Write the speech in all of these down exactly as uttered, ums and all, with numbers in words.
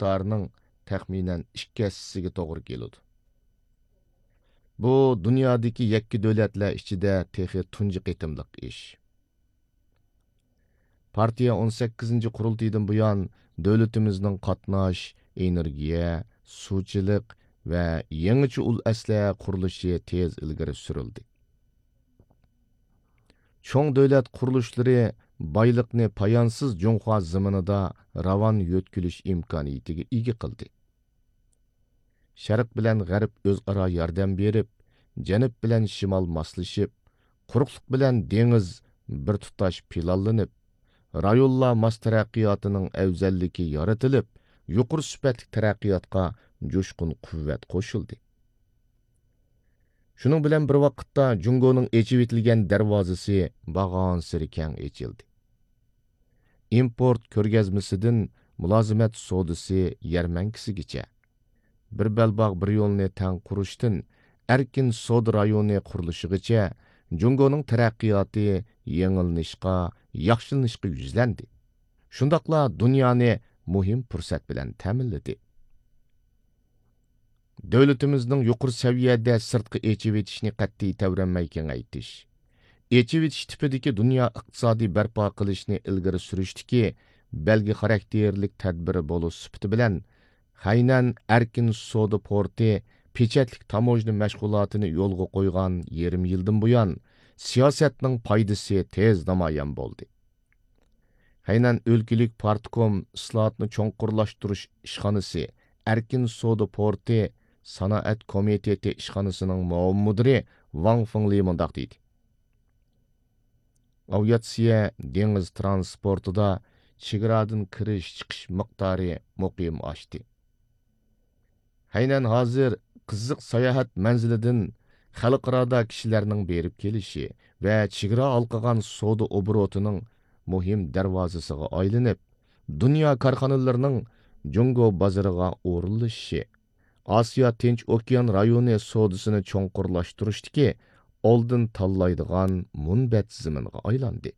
مىقدارىنىڭ تەخمىنەن ئىككى ھەسسىسىگە توغرا كېلىدۇ. بۇ دۇنيادىكى يەككە دۆلەتلەر ئىچىدە تېخى تۇنجى قېتىملىق ئىش. پارتىيە ئون سەككىزىنچى قۇرۇلتىيىدىن بۇيان دۆلىتىمىزنىڭ قاتناش، ئېنېرگىيە، سۇچىلىق ۋە يېڭىچە ئۇل ئەسلىھە قۇرۇلۇشى تېز ئىلگىرى سۈرۈلدى. چوڭ دۆلەت قۇرۇلۇشلىرى بايلىقنى پايانسىز جۇڭخۇا زېمىنىدا راۋان يۆتكىلىش ئىمكانىيىتىگە ئىگە قىلدى. شەرق بىلەن غەرب ئۆزئارا ياردەم بېرىپ، جەنۇب بىلەن شىمال ماسلىشىپ، قۇرۇقلۇق بىلەن دېڭىز بىر تۇتاش پىلانلىنىپ، رايونلار ماس تەرەققىياتىنىڭ ئەۋزەللىكى يارىتىلىپ، يۇقىرى سۈپەتلىك تەرەققىياتقا جۇشقۇن قۇۋۋەت قوشۇلدى. شۇنىڭ بىلەن بىر ۋاقىتتا، جۇڭگونىڭ ئېچىۋېتىلگەن دەرۋازىسى بارغانسېرى كەڭ ئېچىلدى. ئىمپورت كۆرگەزمىسىدىن مۇلازىمەت سودىسى يەرمەنكىسىگىچە، بىر بەلباغ بىر يولنى تەڭ قۇرۇشتىن ئەركىن سودا رايونى قۇرۇلۇشىغىچە جۇڭگونىڭ تەرەققىياتى يېڭىلىنىشقا، ياخشىلىنىشقا يۈزلەندى. شۇنداقلا دۇنيانى مۇھىم پۇرسەت بىلەن تەمىنلىدى. دۆلىتىمىزنىڭ يۇقىرى سەۋىيەدە سىرتقا ئېچىۋېتىشنى قەتئىي تەۋرەنمەي كېڭەيتىش، ئېچىۋېتىش تىپىدىكى دۇنيا ئىقتىسادىي بەرپا قىلىشنى ئىلگىرى سۈرۈشتىكى بەلگە خاراكتېرلىك تەدبىرى بولۇش سۈپىتى بىلەن، خەينەن ئەركىن سودا پورتى پېچەتلىك تاموژنا مەشغۇلاتىنى يولغا قويغان يېرىم يىلدىن بۇيان، سىياسەتنىڭ پايدىسى تېز نامايان بولدى. خەينەن ئۆلكىلىك پارتكوم ئىسلاھاتنى چوڭقۇرلاشتۇرۇش ئىشخانىسى ئەركىن سودا پورتى سانائەت كومىتېتى ئىشخانىسىنىڭ مۇئاۋىن مۇدىرى ۋاڭ فېڭلى مۇنداق دېدى: ئاۋىئاتسىيە دېڭىز ترانسپورتىدا چېگرادىن كىرىش چىقىش مىقدارى مۇقىم ئاشتى. خەينەن ھازىر قىزىق ساياھەت مەنزىلىدىن خەلقئارادا كىشىلەرنىڭ بېرىپ كېلىشى ۋە چېگرا ھالقىغان سودا ئوبوروتىنىڭ مۇھىم دەرۋازىسىغا ئايلىنىپ، دۇنيا كارخانىلىرىنىڭ جۇڭگو بازىرىغا ئورۇنلىشىشى، ئاسىيا تىنچ ئوكيان رايونى سودىسىنى چوڭقۇرلاشتۇرۇشتىكى ئالدىن تاللايدىغان مۇنبەت زېمىنغا ئايلاندى.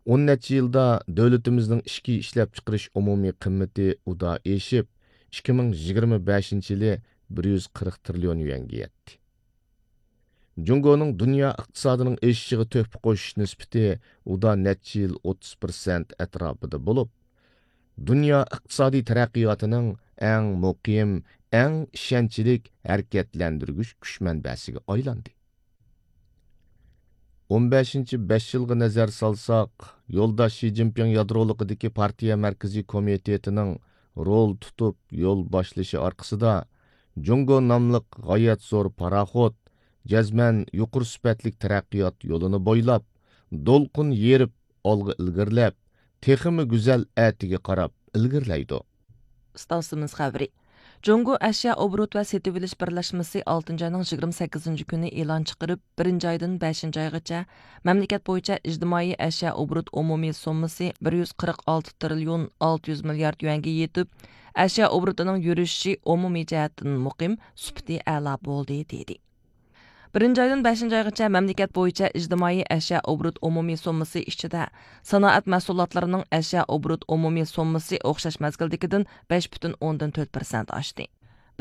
ئون نەچچە يىلدا دۆلىتىمىزنىڭ ئىچكى ئىشلەپچىقىرىش ئومۇمىي قىممىتى ئۇدا ئېشىپ، ئىككى مىڭ يىگىرمە بەشىنچى يىلى بىر يۈز قىرىق تىرىليون يۈەنگە يەتتى. جۇڭگونىڭ دۇنيا ئىقتىسادىنىڭ ئېشىشىغا تۆھپە قوشۇش نىسبىتى ئۇدا نەچچە يىل ئوتتۇز پىرسەنت ئەتراپىدا بولۇپ، دۇنيا ئىقتىسادىي تەرەققىياتىنىڭ ئەڭ مۇقىم، ئەڭ ئىشەنچلىك ھەرىكەتلەندۈرگۈچ كۈچ مەنبەسىگە ئايلاندى. ئون بەشىنچى بەش يىلغا نەزەر سالساق، يولداش شى جىنپىڭ يادرولۇقىدىكى پارتىيە مەركىزىي كومىتېتىنىڭ رول تۇتۇپ يول باشلىشى ئارقىسىدا، جۇڭگو ناملىق غايەت زور پاراخوت جەزمەن يۇقىرى سۈپەتلىك تەرەققىيات يولىنى بويلاپ، دولقۇن يېرىپ ئالغا ئىلگىرىلەپ، تېخىمۇ گۈزەل ئەتىگە قاراپ ئىلگىرىلەيدۇ. ئىستانسىمىز خەۋىرى. جۇڭگو ئەشيا ئوبوروت ۋە سېتىۋېلىش بىرلەشمىسى ئالتىنچى ئاينىڭ يىگىرمە سەككىزىنچى كۈنى ئېلان چىقىرىپ، بىرىنچى ئايدىن بەشىنچى ئايغىچە مەملىكەت بويىچە ئىجتىمائىي ئەشيا ئوبوروت ئومۇمىي سوممىسى بىر يۈز قىرىق ئالتە تىرىليون ئالتە يۈز مىليارد يۈەنگە يېتىپ، ئەشيا ئوبوروتىنىڭ يۈرۈشۈشى ئومۇمىي جەھەتتىن مۇقىم، سۈپىتى ئەلا بولدى، دېدى. بىرىنچى ئايدىن بەشىنچى ئايغىچە مەملىكەت بويىچە ئىجتىمائىي ئەشيا ئوبوروت ئومۇمىي سوممىسى ئىچىدە، سانائەت مەھسۇلاتلىرىنىڭ ئەشيا ئوبوروت ئومۇمىي سوممىسى ئوخشاش مەزگىلدىكىدىن بەش پۈتۈن ئوندىن تۆت پىرسەنت ئاشتى.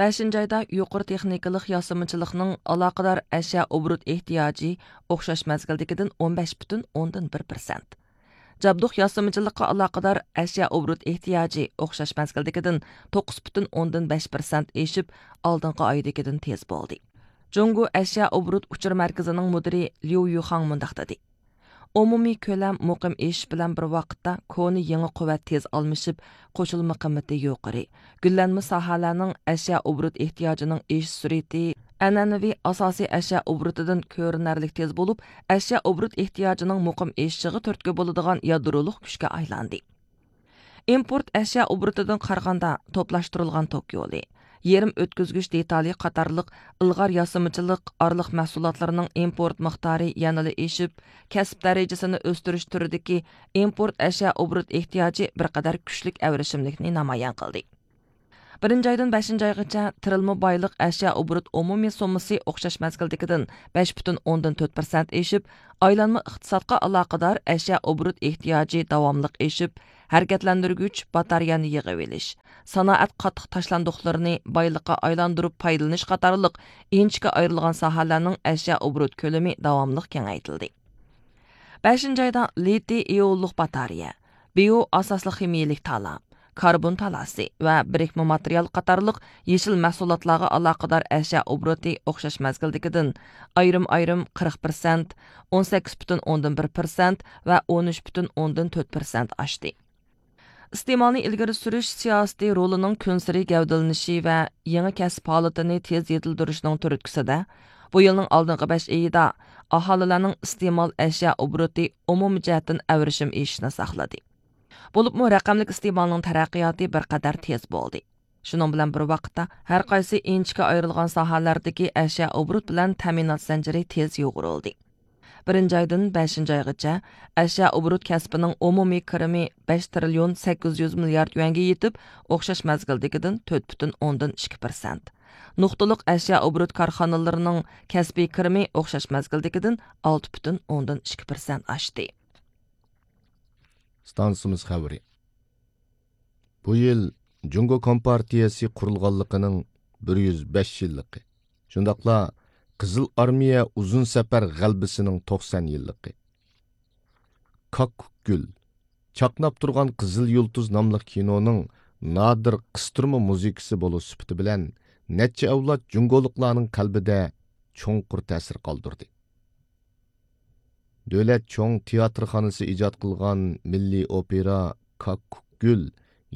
بەشىنچى ئايدا يۇقىرى تېخنىكىلىق ياسىمىچىلىقنىڭ ئالاقىدار ئەشيا ئوبوروت ئېھتىياجى ئوخشاش مەزگىلدىكىدىن ئون بەش پۈتۈن ئوندىن بىر پىرسەنت. جابدۇق ياسىمىچىلىققا ئالاقىدار ئەشيا ئوبوروت ئېھتىياجى ئوخشاش مەزگىلدىكىدىن توققۇز پۈتۈن ئوندىن بەش پىرسەنت ئېشىپ، ئالدىنقى ئايدىكىدىن تېز بولدى. جۇڭگو ئەشيا ئوبوروت ئۇچۇر مەركىزىنىڭ مۇدىرى ليۇ يۈخاڭ مۇنداق دېدى: ئومۇمىي كۆلەم مۇقىم ئېشىش بىلەن بىر ۋاقىتتا كونا يېڭى قۇۋۋەت تېز ئالمىشىپ، قوشۇلما قىممىتى يۇقىرى، گۈللەنمە ساھەلەرنىڭ ئەشيا ئوبوروت ئېھتىياجىنىڭ ئېشىش سۈرئىتى ئەنئەنىۋى ئاساسىي ئەشيا ئوبوروتىدىن كۆرۈنەرلىك تېز بولۇپ، ئەشيا ئوبوروت ئېھتىياجىنىڭ مۇقىم ئېشىشىغا تۈرتكە بولىدىغان يادرولۇق كۈچكە ئايلاندى. ئىمپورت ئەشيا ئوبوروتىدىن قارىغاندا، توپلاشتۇرۇلغان توك يولى، يېرىم ئۆتكۈزگۈچ دېتالى قاتارلىق ئىلغار ياسىمىچىلىق ئارىلىق مەھسۇلاتلىرىنىڭ ئىمپورت مىقدارى يەنىلا ئېشىپ، كەسىپ دەرىجىسىنى ئۆستۈرۈش تۈرىدىكى ئىمپورت ئەشيا ئوبوروت ئېھتىياجى بىر قەدەر كۈچلۈك ئەۋرىشىملىكنى نامايان قىلدى. بىرىنچى ئايدىن بەشىنچى ئايغىچە تىرىلما بايلىق ئەشيا ئوبوروت ئومۇمىي سوممىسى ئوخشاش مەزگىلدىكىدىن بەش پۈتۈن ئوندىن تۆت پىرسەنت ئېشىپ، ئايلانما ئىقتىسادقا ئالاقىدار ئەشيا ئوبوروت ئېھتىياجى داۋاملىق ئېشىپ، ھەرىكەتلەندۈرگۈچ باتارېيەنى يىغىۋېلىش، سانائەت قاتتىق تاشلاندۇقلىرىنى بايلىققا ئايلاندۇرۇپ پايدىلىنىش قاتارلىق ئىنچىكە ئايرىلغان ساھەلەرنىڭ ئەشيا ئوبوروت كۆلىمى داۋاملىق كېڭەيتىلدى. بەشىنچى ئايدا لىتىي ئىئونلۇق باتارېيە، بىيو ئاساسلىق خىمىيىلىك تالا، كاربون تالاسى ۋە بىرىكمە ماتېرىيال قاتارلىق يېشىل مەھسۇلاتلارغا ئالاقىدار ئەشيا ئوبوروتى ئوخشاش مەزگىلدىكىدىن ئايرىم-ئايرىم قىرىق پىرسەنت، ئون سەككىز پۈتۈن ئوندىن بىر پىرسەنت ۋە ئون ئۈچ پۈتۈن ئوندىن تۆت پىرسەنت ئاشتى. ئىستېمالنى ئىلگىرى سۈرۈش سىياسىتى رولىنىڭ كۈنسېرى گەۋدىلىنىشى ۋە يېڭى كەسىپ ھالىتىنى تېز يېتىلدۈرۈشنىڭ تۈرتكىسىدە، بۇ يىلنىڭ ئالدىنقى بەش ئېيىدا ئاھالىلەرنىڭ ئىستېمال ئەشيا ئوبوروتى ئومۇمىي جەھەتتىن ئەۋرىشىم ئېشىشنى ساقلىدى. بولۇپمۇ رەقەملىك ئىستېمالنىڭ تەرەققىياتى بىر قەدەر تېز بولدى. شۇنىڭ بىلەن بىر ۋاقىتتا، ھەر قايسى ئىنچىكە ئايرىلغان ساھەلەردىكى ئەشيا ئوبوروت بىلەن تەمىنات زەنجىرى تېز يۇغۇرۇلدى. بىرىنچى ئايدىن بەشىنچى ئايغىچە ئەشيا ئوبوروت كەسپىنىڭ ئومۇمىي كىرىمى بەش تىرىليون سەككىز يۈز مىليارد يۈەنگە يېتىپ، ئوخشاش مەزگىلدىكىدىن تۆت پۈتۈن ئوندىن ئىككى پىرسەنت. نۇقتىلىق ئەشيا ئوبوروت كارخانىلىرىنىڭ كەسپىي كىرىمى ئوخشاش مەزگىلدىكىدىن ئالتە پۈتۈن ئوندىن ئىككى پىرسەنت ئاشتى. ئىستانسىمىز خەۋىرى. بۇ يىل جۇڭگو كومپارتىيەسى قۇرۇلغانلىقىنىڭ بىر يۈز بەش يىللىقى، شۇنداقلا قىزىل ئارمىيە ئۇزۇن سەپەر غەلىبىسىنىڭ توقسان يىللىقى. كاككۇك گۈل، چاقناپ تۇرغان قىزىل يۇلتۇز ناملىق كىنونىڭ نادىر قىستۇرما مۇزىكىسى بولۇش سۈپىتى بىلەن، نەچچە ئەۋلاد جۇڭگولۇقلارنىڭ قەلبىدە چوڭقۇر تەسىر قالدۇردى. دۆلەت چوڭ تىياتىرخانىسى ئىجاد قىلغان مىللىي ئوپېرا كاككۇك گۈل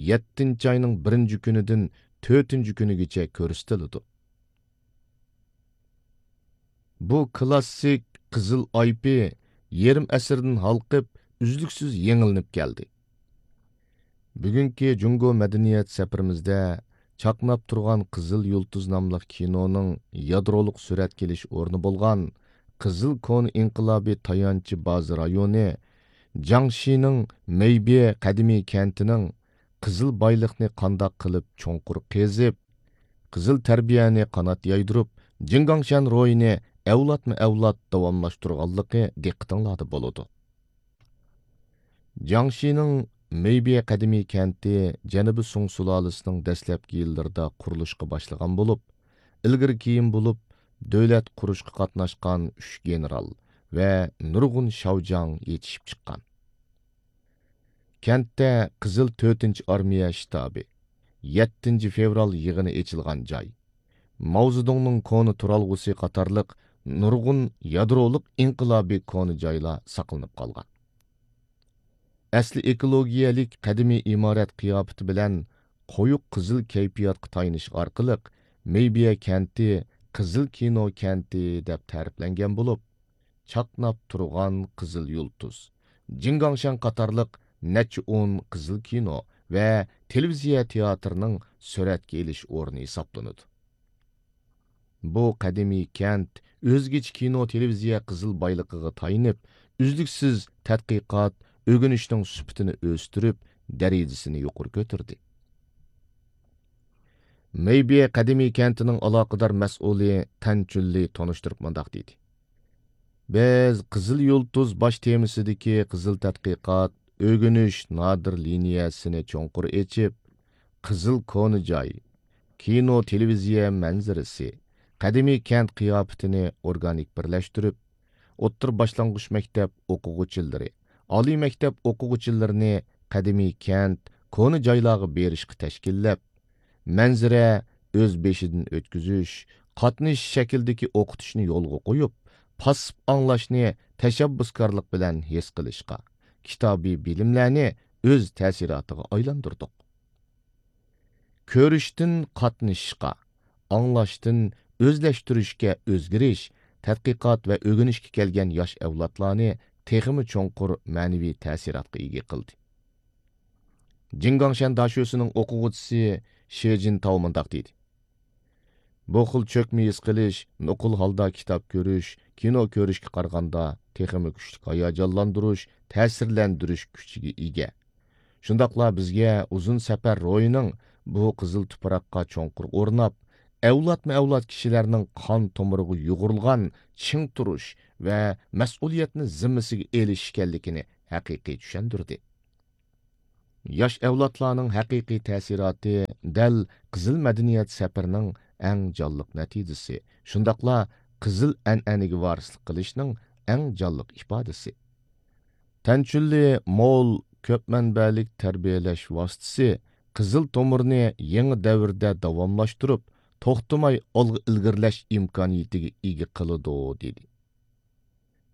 يەتتىنچى ئاينىڭ بىرىنچى كۈنىدىن تۆتىنچى كۈنىگىچە كۆرسىتىلىدۇ. بۇ كلاسسىك قىزىل ئايپى يېرىم ئەسىردىن ھالقىپ، ئۈزلۈكسىز يېڭىلىنىپ كەلدى. بۈگۈنكى جۇڭگو مەدەنىيەت سەپىرىمىزدە چاقناپ تۇرغان قىزىل يۇلتۇز ناملىق كىنونىڭ يادرولۇق سۈرەتكە ئېلىش ئورنى بولغان قىزىل كونا ئىنقىلابىي تايانچى بازا رايونى، جياڭشىنىڭ مېيبې قەدىمىي كەنتىنىڭ قىزىل بايلىقنى قانداق قىلىپ چوڭقۇر قېزىپ، قىزىل تەربىيەنى قانات يايدۇرۇپ، جىڭگاڭشەن روھىنى ئەۋلادمۇ ئەۋلاد داۋاملاشتۇرغانلىقى دىققىتىڭلاردا بولىدۇ. جياڭشىنىڭ مېيبې قەدىمىي كەنتى جەنۇبىي سۇڭ سۇلالىسىنىڭ دەسلەپكى يىللىرىدا قۇرۇلۇشقا باشلىغان بولۇپ، ئىلگىرى كېيىن بولۇپ دۆلەت قۇرۇشقا قاتناشقان ئۈچ گېنېرال ۋە نۇرغۇن شاۋجاڭ يېتىشىپ چىققان. كەنتتە قىزىل تۆتىنچى ئارمىيە شتابى، يەتتىنچى فېۋرال يىغىنى ئېچىلغان جاي، ماۋزېدۇڭنىڭ كونا تۇرالغۇسى قاتارلىق نۇرغۇن يادرولۇق ئىنقىلابىي كونا جايلار ساقلىنىپ قالغان. ئەسلى ئېكولوگىيەلىك قەدىمىي ئىمارەت قىياپىتى بىلەن قويۇق قىزىل كەيپىياتقا تايىنىش ئارقىلىق مېيبىيە كەنتى قىزىل كىنو كەنتى دەپ تەرىپلەنگەن بولۇپ، چاقناپ تۇرغان قىزىل يۇلتۇز، جىڭگاڭشەن قاتارلىق نەچچە ئون قىزىل كىنو ۋە تېلېۋىزىيە تىياتىرىنىڭ سۈرەتكە ئېلىش ئورنى ھېسابلىنىدۇ. بۇ قەدىمىي كەنت ئۆزگىچە كىنو تېلېۋىزىيە قىزىل بايلىقىغا تايىنىپ، ئۈزلۈكسىز تەتقىقات، ئۆگىنىشنىڭ سۈپىتىنى ئۆستۈرۈپ، دەرىجىسىنى يۇقىرى كۆتۈردى. مېيبې قەدىمىي كەنتىنىڭ ئالاقىدار مەسئۇلى تەن چۈنلى تونۇشتۇرۇپ مۇنداق دېدى: بىز قىزىل يۇلتۇز باش تېمىسىدىكى قىزىل تەتقىقات، ئۆگىنىش نادىر لىنىيەسىنى چوڭقۇر ئېچىپ، قىزىل كونا جاي، كىنو تېلېۋىزىيە مەنزىرىسى، قەدىمىي كەنت قىياپىتىنى ئورگانىك بىرلەشتۈرۈپ، ئوتتۇرا باشلانغۇچ مەكتەپ ئوقۇغۇچىلىرى، ئالىي مەكتەپ ئوقۇغۇچىلىرىنى قەدىمىي كەنت، كونا جايلارغا بېرىشقا تەشكىللەپ، مەنزىرە ئۆز بېشىدىن ئۆتكۈزۈش، قاتنىشىش شەكلىدىكى ئوقۇتۇشنى يولغا قويۇپ، پاسسىپ ئاڭلاشنى تەشەببۇسكارلىق بىلەن ھېس قىلىشقا، كىتابىي بىلىملەرنى ئۆز تەسىراتىغا ئايلاندۇردۇق. كۆرۈشتىن قاتنىشىشقا، ئاڭلاشتىن ئۆزلەشتۈرۈشكە ئۆزگىرىش، تەتقىقات ۋە ئۆگىنىشكە كەلگەن ياش ئەۋلادلارنى تېخىمۇ چوڭقۇر مەنىۋى تەسىراتقا ئىگە قىلدى. جىڭگاڭشەن داشۆسىنىڭ ئوقۇغۇچىسى شې جىنتاۋ مۇنداق دېدى: بۇ خىل چۆكمە ھېس قىلىش، نوقۇل ھالدا كىتاب كۆرۈش، كىنو كۆرۈشكە قارىغاندا تېخىمۇ كۈچلۈك ھاياجانلاندۇرۇش، تەسىرلەندۈرۈش كۈچىگە ئىگە. شۇنداقلا بىزگە ئۇزۇن سەپەر روھىنىڭ بۇ قىزىل تۇپراققا چوڭقۇر ئورناپ، ئەۋلادمۇ ئەۋلاد كىشىلەرنىڭ قان تومۇرىغا يۇغۇرۇلغان چىڭ تۇرۇش ۋە مەسئۇلىيەتنى زىممىسىگە ئېلىش ئىكەنلىكىنى ھەقىقىي چۈشەندۈردى. ياش ئەۋلادلارنىڭ ھەقىقىي تەسىراتى دەل قىزىل مەدەنىيەت سەپىرىنىڭ ئەڭ جانلىق نەتىجىسى، شۇنداقلا قىزىل ئەنئەنىگە ۋارىسلىق قىلىشنىڭ ئەڭ جانلىق ئىپادىسى. تەنچۈنلى مول كۆپ مەنبەلىك تەربىيەلەش ۋاسىتىسى قىزىل تومۇرنى يېڭى دەۋردە داۋاملاشتۇرۇپ، توختىماي ئالغا ئىلگىرىلەش ئىمكانىيىتىگە ئىگە قىلىدۇ، دېدى.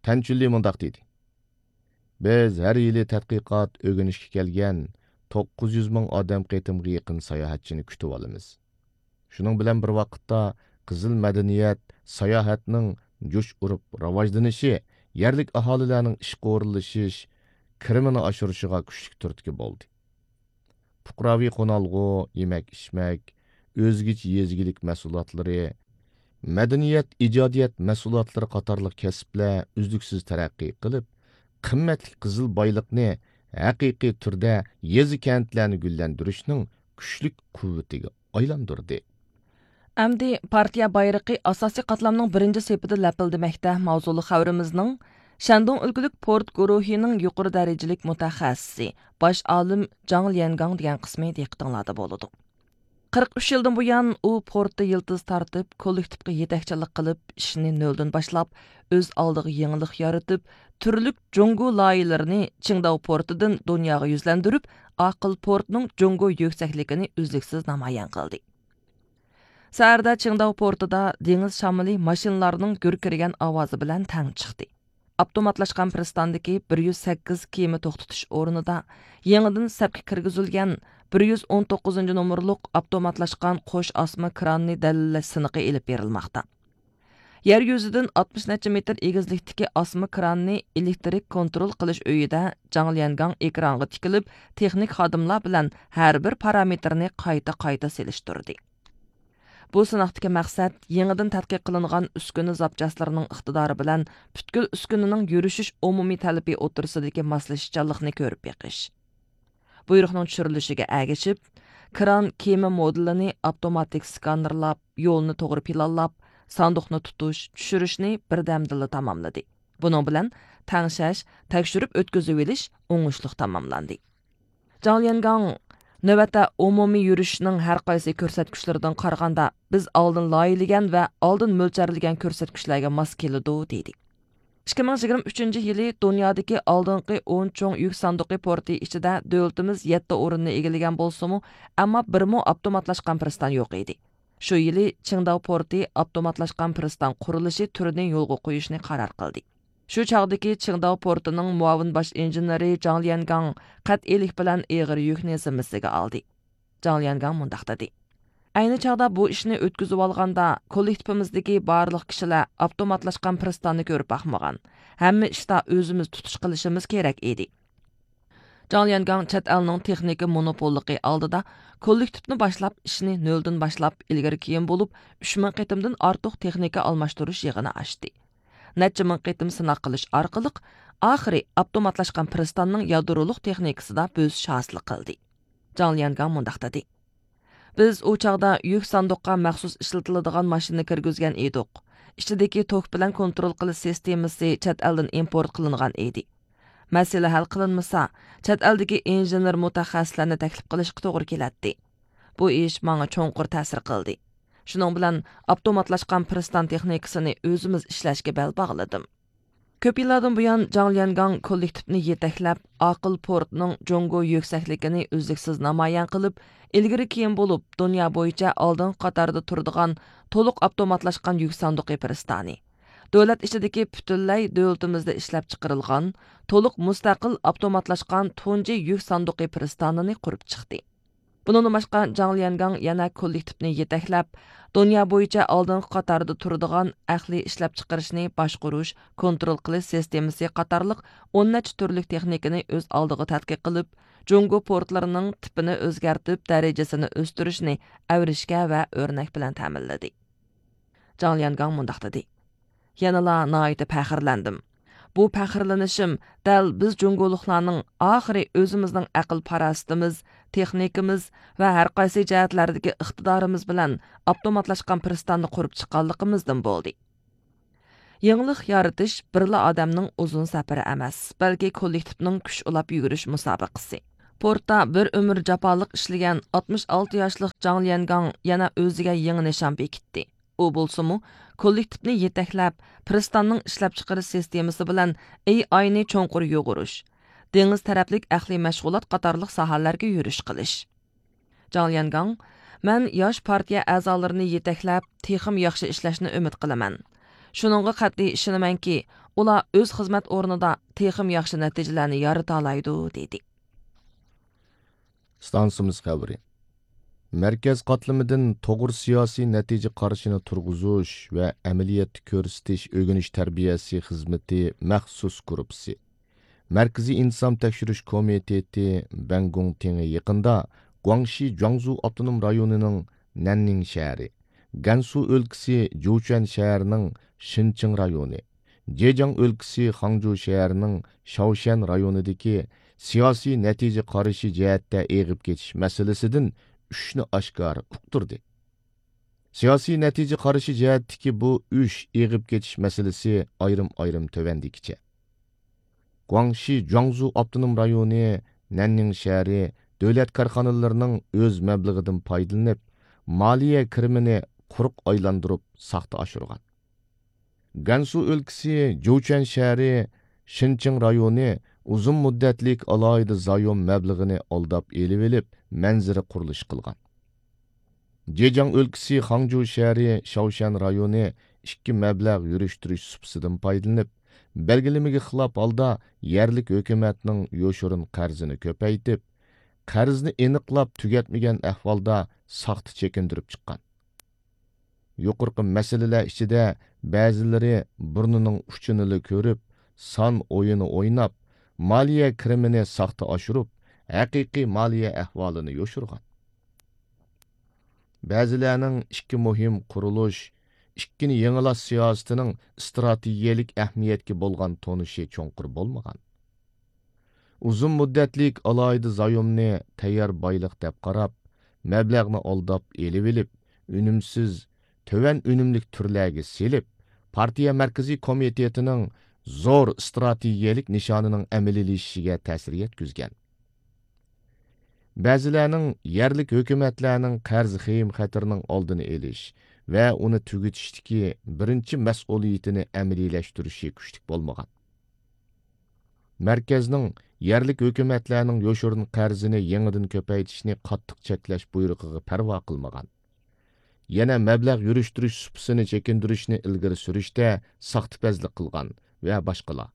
تەنچۈنلى مۇنداق دېدى: بىز ھەر يىلى تەتقىقات، ئۆگىنىشكە كەلگەن توققۇز يۈز مىڭ ئادەم قېتىمغا يېقىن ساياھەتچىنى كۈتۈۋالىمىز. شۇنىڭ بىلەن بىر ۋاقىتتا، قىزىل مەدەنىيەت، ساياھەتنىڭ جۇش ئۇرۇپ راۋاجلىنىشى يەرلىك ئاھالىلەرنىڭ ئىشقا ئورۇنلىشىش، كىرىمىنى ئاشۇرۇشىغا كۈچلۈك تۈرتكە بولدى. پۇقراۋى قونالغۇ، يېمەك-ئىچمەك، ئۆزگىچە يېزا ئىگىلىك مەھسۇلاتلىرى، مەدەنىيەت، ئىجادىيەت مەھسۇلاتلىرى قاتارلىق كەسىپلەر ئۈزلۈكسىز تەرەققىي قىلىپ، قىممەتلىك قىزىل بايلىقنى ھەقىقىي تۈردە يېزا-كەنتلەرنى گۈللەندۈرۈشنىڭ كۈچلۈك قۇۋۋىتىگە ئايلاندۇردى. ئەمدى پارتىيە بايرىقى ئاساسىي قاتلامنىڭ بىرىنچى سېپىدە لەپىلدىمەكتە ماۋزۇلۇق خەۋىرىمىزنىڭ شەندۇڭ ئۆلكىلىك پورت گۇرۇھىنىڭ يۇقىرى دەرىجىلىك مۇتەخەسسىسى، باش ئالىم جاڭ ليەنگاڭ دېگەن قىسمى دىققىتىڭلاردا بولىدۇ. قىرىق ئۈچ يىلدىن بۇيان ئۇ پورتتا يىلتىز تارتىپ، كوللېكتىپقا يېتەكچىلىك قىلىپ، ئىشنى نۆلدىن باشلاپ، ئۆز ئالدىغا يېڭىلىق يارىتىپ، تۈرلۈك جۇڭگو لايىھىلىرىنى چىڭداۋ پورتىدىن دۇنياغا يۈزلەندۈرۈپ، ئاقىل پورتنىڭ جۇڭگو يۈكسەكلىكىنى ئۈزلۈكسىز نامايان قىلدى. سەھەردە چىڭداۋ پورتىدا دېڭىز شامىلى ماشىنىلارنىڭ گۈركىرىگەن ئاۋازى بىلەن تەڭ چىقتى. ئاپتوماتلاشقان پىرىستاندىكى بىر يۈز سەككىز كېمە توختىتىش ئورنىدا يېڭىدىن سەپكە كىرگۈزۈلگەن بىر يۈز ئون توققۇزىنچى نومۇرلۇق ئاپتوماتلاشقان قوش ئاسما كراننى دەلىللەش سىنىقى ئېلىپ بېرىلماقتا. يەر يۈزىدىن ئاتمىش نەچچە مېتىر ئېگىزلىكتىكى ئاسما كراننى ئېلېكتىرىك كونترول قىلىش ئۆيىدە جاڭ ليەنگاڭ ئېكرانغا تىكىلىپ، تېخنىك خادىملار بىلەن ھەر بىر پارامېتىرنى قايتا-قايتا سېلىشتۇردى. بۇ سىناقتىكى مەقسەت يېڭىدىن تەتقىق قىلىنغان ئۈسكۈنە زاپچاسلىرىنىڭ ئىقتىدارى بىلەن پۈتكۈل ئۈسكۈنىنىڭ يۈرۈشۈش ئومۇمىي تەلىپى ئوتتۇرىسىدىكى ماسلىشىشچانلىقنى كۆرۈپ بېقىش. بۇيرۇقنىڭ چۈشۈرۈلۈشىگە ئەگىشىپ، كران كېمە مودېلىنى ئاپتوماتىك سكانېرلاپ، يولنى توغرا پىلانلاپ، ساندۇقنى تۇتۇش، چۈشۈرۈشنى بىردەمدىلا تاماملىدى. بۇنىڭ بىلەن تەڭشەش، تەكشۈرۈپ ئۆتكۈزۈۋېلىش ئوڭۇشلۇق تاماملاندى. جاڭ ليەنگاڭ نۆۋەتتە ئومۇمىي يۈرۈشنىڭ ھەر قايسى كۆرسەتكۈچلىرىدىن قارىغاندا، بىز ئالدىن لايىھىلىگەن ۋە ئالدىن مۆلچەرلىگەن كۆرسەتكۈچلەرگە ماس كېلىدۇ، دېدى. ئىككى مىڭ يىگىرمە ئۈچىنچى يىلى دۇنيادىكى ئالدىنقى ئون چوڭ يۈك ساندۇقى پورتى ئىچىدە دۆلىتىمىز يەتتە ئورۇننى ئىگىلىگەن بولسىمۇ، ئەمما بىرمۇ ئاپتوماتلاشقان پىرىستان يوق ئىدى. شۇ يىلى چىڭداۋ پورتى ئاپتوماتلاشقان پىرىستان قۇرۇلۇشى تۈرىنى يولغا قويۇشنى قارار قىلدى. شۇ چاغدىكى چىڭداۋ پورتىنىڭ مۇئاۋىن باش ئىنژېنېرى جاڭ ليەنگاڭ قەتئىيلىك بىلەن ئېغىر يۈكنى زىممىسىگە ئالدى. جاڭ ليەنگاڭ مۇنداق دېدى: ئەينى چاغدا بۇ ئىشنى ئۆتكۈزۈۋالغاندا، كوللېكتىپىمىزدىكى بارلىق كىشىلەر ئاپتوماتلاشقان پىرىستاننى كۆرۈپ باقمىغان، ھەممە ئىشتا ئۆزىمىز تۇتۇش قىلىشىمىز كېرەك ئىدى. جاڭ ليەنگاڭ چەت ئەلنىڭ تېخنىكا مونوپوللۇقى ئالدىدا كوللېكتىپنى باشلاپ، ئىشنى نۆلدىن باشلاپ، ئىلگىرى كېيىن بولۇپ، ئۈچ مىڭ قېتىمدىن ئارتۇق تېخنىكا ئالماشتۇرۇش يىغىنى ئاچتى. نەچچە مىڭ قېتىم سىناق قىلىش ئارقىلىق، ئاخىرى ئاپتوماتلاشقان پىرىستاننىڭ يادرولۇق تېخنىكىسىدا بۆسۈش ھاسىل قىلدى. جاڭ ليەنگاڭ مۇنداق دېدى: بىز ئۇ چاغدا يۈك ساندۇققا مەخسۇس ئىشلىتىلىدىغان ماشىنا كىرگۈزگەن ئىدۇق. ئىچىدىكى توك بىلەن كونترول قىلىش سىستېمىسى چەت ئەلدىن ئىمپورت قىلىنغان ئىدى. مەسىلە ھەل قىلىنمىسا، چەت ئەلدىكى ئىنژېنېر مۇتەخەسسىسلەرنى تەكلىپ قىلىشقا توغرا كېلەتتى. بۇ ئىش ماڭا چوڭقۇر تەسىر قىلدى. شۇنىڭ بىلەن ئاپتوماتلاشقان پىرىستان تېخنىكىسىنى ئۆزىمىز ئىشلەشكە بەل باغلىدىم. كۆپ يىللاردىن بۇيان جاڭ ليەنگاڭ كوللېكتىپنى يېتەكلەپ، ئاقىل پورتنىڭ جۇڭگو يۈكسەكلىكىنى ئۈزلۈكسىز نامايان قىلىپ، ئىلگىرى كېيىن بولۇپ دۇنيا بويىچە ئالدىنقى قاتاردا تۇرىدىغان تولۇق ئاپتوماتلاشقان يۈك ساندۇقى پىرىستانى، دۆلەت ئىچىدىكى پۈتۈنلەي دۆلىتىمىزدە ئىشلەپچىقىرىلغان تولۇق مۇستەقىل ئاپتوماتلاشقان تۇنجى يۈك ساندۇقى پىرىستانىنى قۇرۇپ چىقتى. بۇنىڭدىن باشقا، جاڭ ليەنگاڭ يەنە كوللېكتىپنى يېتەكلەپ، دۇنيا بويىچە ئالدىنقى قاتاردا تۇرىدىغان ئەقلىي ئىشلەپچىقىرىشنى باشقۇرۇش، كونترول قىلىش سىستېمىسى قاتارلىق ئون نەچچە تۈرلۈك تېخنىكىنى ئۆز ئالدىغا تەتقىق قىلىپ، جۇڭگو پورتلىرىنىڭ تىپىنى ئۆزگەرتىپ، دەرىجىسىنى ئۆستۈرۈشنى ئەۋرىشكە ۋە ئۆرنەك بىلەن تەمىنلىدى. جاڭ ليەنگاڭ مۇنداق دېدى: يەنىلا ناھايىتى پەخىرلەندىم. بۇ پەخىرلىنىشىم دەل بىز جۇڭگولۇقلارنىڭ ئاخىرى ئۆزىمىزنىڭ ئەقىل-پاراسىتىمىز، تېخنىكىمىز ۋە ھەر قايسى جەھەتلەردىكى ئىقتىدارىمىز بىلەن ئاپتوماتلاشقان پىرىستاننى قۇرۇپ چىققانلىقىمىزدىن بولدى. يېڭىلىق يارىتىش بىرلا ئادەمنىڭ ئۇزۇن سەپىرى ئەمەس، بەلكى كوللېكتىپنىڭ كۈچ ئۇلاپ يۈگۈرۈش مۇسابىقىسى. پورتتا بىر ئۆمۈر جاپالىق ئىشلىگەن ئاتمىش ئالتە ياشلىق جاڭ ليەنگاڭ يەنە ئۆزىگە يېڭى نىشان بېكىتتى. ئۇ بولسىمۇ، كوللېكتىپنى يېتەكلەپ، پىرىستاننىڭ ئىشلەپچىقىرىش سىستېمىسى بىلەن ئېي ئاينى چوڭقۇر يۇغۇرۇش، دېڭىز تەرەپلىك ئەقلىي مەشغۇلات قاتارلىق ساھەلەرگە يۈرۈش قىلىش. جاڭ ليەنگاڭ، مەن ياش پارتىيە ئەزالىرىنى يېتەكلەپ، تېخىمۇ ياخشى ئىشلەشنى ئۈمىد قىلىمەن. شۇنىڭغا قەتئىي ئىشىنىمەنكى، ئۇلار ئۆز خىزمەت ئورنىدا تېخىمۇ ياخشى نەتىجىلەرنى يارىتالايدۇ، دېدى. ئىستانسىمىز خەۋىرى. مەركەز قاتلىمىدىن توغرا سىياسىي نەتىجە قارىشىنى تۇرغۇزۇش ۋە ئەمەلىيەتتە كۆرسىتىش ئۆگىنىش تەربىيەسى خىزمىتى مەخسۇس گۇرۇپپىسى. مەركىزىي ئىنتىزام تەكشۈرۈش كومىتېتى بەنگۇڭتىڭى يېقىندا گۇاڭشى جۇاڭزۇ ئاپتونوم رايونىنىڭ نەننىڭ شەھىرى، گەنسۇ ئۆلكىسى جۇچۈەن شەھىرىنىڭ شىنچىڭ رايونى، جېجياڭ ئۆلكىسى خاڭجۇ شەھىرىنىڭ شاۋشيەن رايونىدىكى سىياسىي نەتىجە قارىشى جەھەتتە ئېغىپ كېتىش مەسىلىسىدىن ئۈچنى ئاشكارا ئۇقتۇردى. سىياسىي نەتىجە قارىشى جەھەتتىكى بۇ ئۈچ ئېغىپ كېتىش مەسىلىسى ئايرىم-ئايرىم تۆۋەندىكىچە. گۇاڭشى جۇاڭزۇ ئاپتونوم رايونى نەننىڭ شەھىرى دۆلەت كارخانىلىرىنىڭ ئۆز مەبلىغىدىن پايدىلىنىپ، مالىيە كىرىمىنى قۇرۇق ئايلاندۇرۇپ ساختا ئاشۇرغان. گەنسۇ ئۆلكىسى جۇچۈەن شەھىرى شىنچىڭ رايونى ئۇزۇن مۇددەتلىك ئالاھىدە زايوم مەبلىغىنى ئالداپ ئېلىۋېلىپ، مەنزىرە قۇرۇلۇشى قىلغان. جېجياڭ ئۆلكىسى خاڭجۇ شەھىرى شاۋشيەن رايونى ئىككى مەبلەغ يۈرۈشتۈرۈش سۇپىسىدىن پايدىلىنىپ، بەلگىلىمىگە خىلاپ ھالدا يەرلىك ھۆكۈمەتنىڭ يوشۇرۇن قەرزىنى كۆپەيتىپ، قەرزنى ئېنىقلاپ تۈگەتمىگەن ئەھۋالدا ساختا چېكىندۈرۈپ چىققان. يۇقىرىقى مەسىلىلەر ئىچىدە بەزىلىرى بۇرنىنىڭ ئۇچىنىلا كۆرۈپ، سان ئويۇنى ئويناپ، مالىيە كىرىمىنى ساختا ئاشۇرۇپ، ھەقىقىي مالىيە ئەھۋالىنى يوشۇرغان. بەزىلەرنىڭ ئىككى مۇھىم قۇرۇلۇش، ئىككىنى يېڭىلاش سىياسىتىنىڭ ئىستراتېگىيەلىك ئەھمىيەتكە بولغان تونۇشى چوڭقۇر بولمىغان. ئۇزۇن مۇددەتلىك ئالاھىدە زايومنى تەييار بايلىق دەپ قاراپ، مەبلەغنى ئالداپ ئېلىۋېلىپ، ئۈنۈمسىز، تۆۋەن ئۈنۈملۈك تۈرلەرگە سېلىپ، پارتىيە مەركىزىي كومىتېتىنىڭ زور ئىستراتېگىيەلىك نىشانىنىڭ ئەمەلىيلىشىشىگە تەسىر يەتكۈزگەن. بەزىلەرنىڭ يەرلىك ھۆكۈمەتلەرنىڭ قەرز خېيىم خەتىرىنىڭ ئالدىنى ئېلىش ۋە ئۇنى تۈگىتىشتىكى بىرىنچى مەسئۇلىيىتىنى ئەمەلىيلەشتۈرۈشى كۈچلۈك بولمىغان. مەركەزنىڭ يەرلىك ھۆكۈمەتلەرنىڭ يوشۇرۇن قەرزىنى يېڭىدىن كۆپەيتىشنى قاتتىق چەكلەش بۇيرۇقىغا پەرۋا قىلمىغان. يەنە مەبلەغ يۈرۈشتۈرۈش سۇپىسىنى چېكىندۈرۈشنى ئىلگىرى سۈرۈشتە ساختىپەزلىك قىلغان ۋە باشقىلار.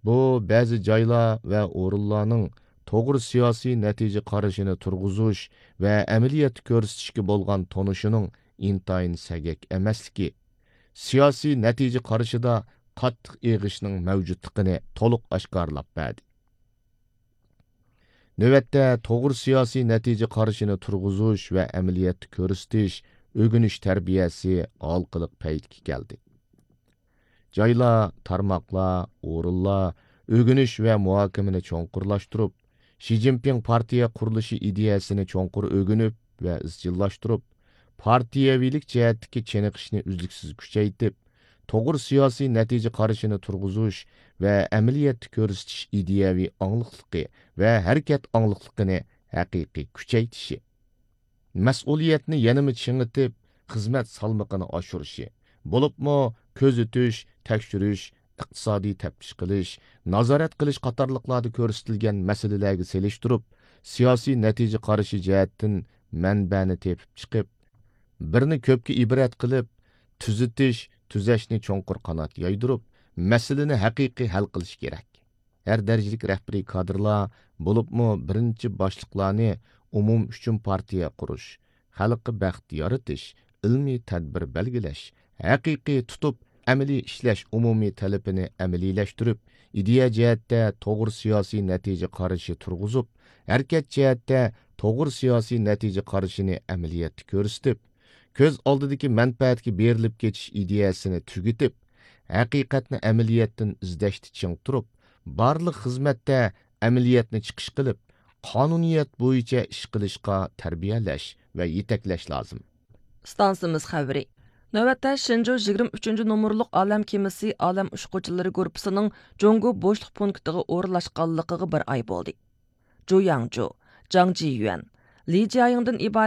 بۇ بەزى جايلار ۋە ئورۇنلارنىڭ توغرا سىياسىي نەتىجە قارىشىنى تۇرغۇزۇش ۋە ئەمەلىيەتتە كۆرسىتىشكە بولغان تونۇشىنىڭ ئىنتايىن سەگەك ئەمەسلىكى، سىياسىي نەتىجە قارىشىدا قاتتىق ئېغىشنىڭ مەۋجۇتلۇقىنى تولۇق ئاشكارىلاپ بەردى. نۆۋەتتە توغرا سىياسىي نەتىجە قارىشىنى تۇرغۇزۇش ۋە ئەمەلىيەتتە كۆرسىتىش، ئۆگىنىش تەربىيەسى ھالقىلىق پەيتكە كەلدى. جايلار، تارماقلار، ئورۇنلار ئۆگىنىش ۋە مۇھاكىمىنى چوڭقۇرلاشتۇرۇپ، شى جىنپىڭ پارتىيە قۇرۇلۇشى ئىدىيەسىنى چوڭقۇر ئۆگىنىپ ۋە ئىزچىللاشتۇرۇپ، پارتىيەۋىلىك جەھەتتىكى چېنىقىشنى ئۈزلۈكسىز كۈچەيتىپ، توغرا سىياسىي نەتىجە قارىشىنى تۇرغۇزۇش ۋە ئەمەلىيەتتە كۆرسىتىش ئىدىيەۋى ئاڭلىقلىقى ۋە ھەرىكەت ئاڭلىقلىقىنى ھەقىقىي كۈچەيتىشى. مەسئۇلىيەتنى يەنىمۇ چىڭىتىپ، خىزمەت سالمىقىنى ئاشۇرۇشى، بولۇپمۇ كۆزىتىش، تەكشۈرۈش، ئىقتىسادىي تەپتىش قىلىش، نازارەت قىلىش قاتارلىقلاردا كۆرسىتىلگەن مەسىلىلەرگە سېلىشتۇرۇپ، سىياسىي نەتىجە قارىشى جەھەتتىن مەنبەنى تېپىپ چىقىپ، بىرنى كۆپكە ئىبرەت قىلىپ، تۈزىتىش، تۈزەشنى چوڭقۇر قانات يايدۇرۇپ، مەسىلىنى ھەقىقىي ھەل قىلىش كېرەك. ھەر دەرىجىلىك رەھبىرىي كادىرلار، بولۇپمۇ بىرىنچى باشلىقلارنى ئومۇم ئۈچۈن پارتىيە قۇرۇش، خەلققە بەخت يارىتىش، ئىلمىي تەدبىر بەلگىلەش، ھەقىقىي تۇتۇپ ئەمەلىي ئىشلەش ئومۇمىي تەلىپىنى ئەمەلىيلەشتۈرۈپ، ئىدىيە جەھەتتە توغرا سىياسىي نەتىجە قارىشى تۇرغۇزۇپ، ھەرىكەت جەھەتتە توغرا سىياسىي نەتىجە قارىشىنى ئەمەلىيەتتە كۆرسىتىپ، كۆز ئالدىدىكى مەنپەئەتكە بېرىلىپ كېتىش ئىدىيەسىنى تۈگىتىپ، ھەقىقەتنى ئەمەلىيەتتىن ئىزدەشتە چىڭ تۇرۇپ، بارلىق خىزمەتتە ئەمەلىيەتنى چىقىش قىلىپ، قانۇنىيەت بويىچە ئىش قىلىشقا تەربىيەلەش ۋە يېتەكلەش لازىم. ئىستانسىمىز خەۋىرى. نۆۋەتتە شېنجۇ يىگىرمە ئۈچىنچى نومۇرلۇق ئالەم كېمىسى ئالەم ئۇچقۇچىلىرى گۇرۇپپىسىنىڭ جۇڭگو بوشلۇق پونكىتىغا ئورۇنلاشقانلىقىغا بىر ئاي بولدى. جۇ ياڭجۇ، جاڭ جىيۈەن، لى جيايىڭدىن ئىبارەت